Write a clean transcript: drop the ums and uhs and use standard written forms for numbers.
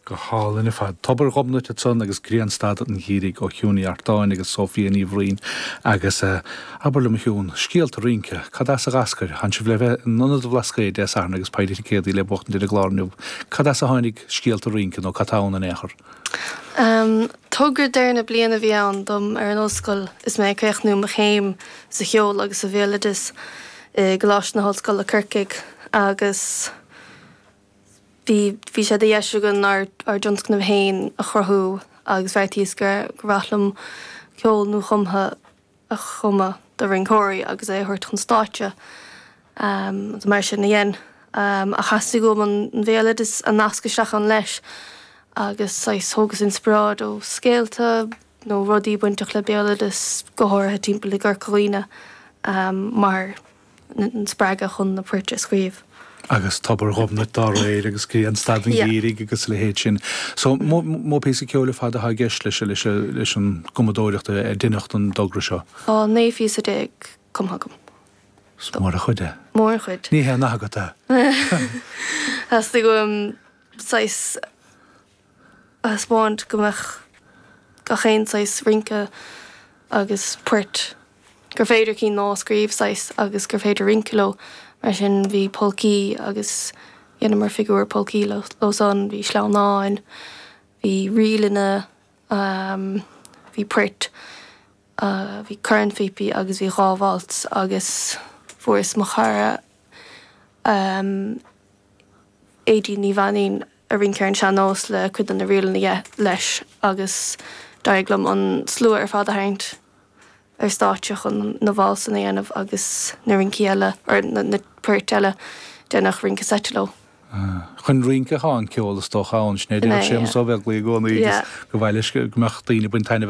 Go hálainn ar fad. Tobar Ghobnait ansan agus Grianstad an Gheimhridh ó Shiún Ní Artáin agus Sophia Ní Bhraoin agus abair liom a Shiún, scéalta rince, cad as a dh'eascair? Tánn sibh le bheith in Ionad an Bhlascaoid Dé Sathairn agus poiblí ticéadaí le buachtaint ar an gclár inniu. Cad as a tháinig scéalta rince nó cad tá ann in aon chor? Togra deireadh na bliana a bhí ann dom ar an ollscoil is mé ag críochnú mo chéim sa cheol agus sa bhéaloideas i gColáiste na hOllscoile Corcaigh agus Bhí, bhí sé de dheis againn ár, ár dtionscnamh féin a chruthú agus bheartaíos gur, gur mhaith liom ceol nuachumtha a chumadh do rinceoirí agus é a thabhairt chun stáitse. Agus mar sin a dhein. Ach theastaigh uaim an, an bhéaloideas a nasc isteach ann leis agus saghas thógas inspioráid ó scéalta nó rudaí bainteach le béaloideas, go háirithe timpeall i gCorca Dhuibhne, mar. an spreagadh chun na poirt a scríobh. Agus Tobar Ghobnait dá réir agus Grianstad an Gheimhridh agus a leithéid sin. So, mó píosa ceoil ar fad atá i gceist leis leis leis an gcumadóireacht a deineadh don dtogra seo? Tá 19 phíosa cumtha agam. Is mór an chuid é. Mór an chuid. Ní haon nath agat é. Theastaigh uaim saghas a thaispeáint go mbeadh gach aon saghas rince agus poirt, gur féidir cinn nua a scríobh saghas agus gur féidir rince leo. Mar sin bhí polcaí agus dheineamar figiúr polcaí leo san, bhí sleamhnáin, bhí ríleanna, bhí poirt, bhí cornphíopaí agus bhí dhá waltz agus fuaireas mo chara Aedín Ní Mhainín a rince ar an sean-nós le cuid de na ríleanna leis agus d'éirigh liom an slua ar fad a tharraingt ar stáitse chun na válsanna a dhéanamh agus na rincí eile, or na poirt eile, deineadh rince seite leo. Chun rince atá an ceol is dócha ann, sin é a déarfadh Séamus Ó Beaglaoich i gcónaí agus gur mhaith leis go mbeadh daoine ag baint taitneamh as.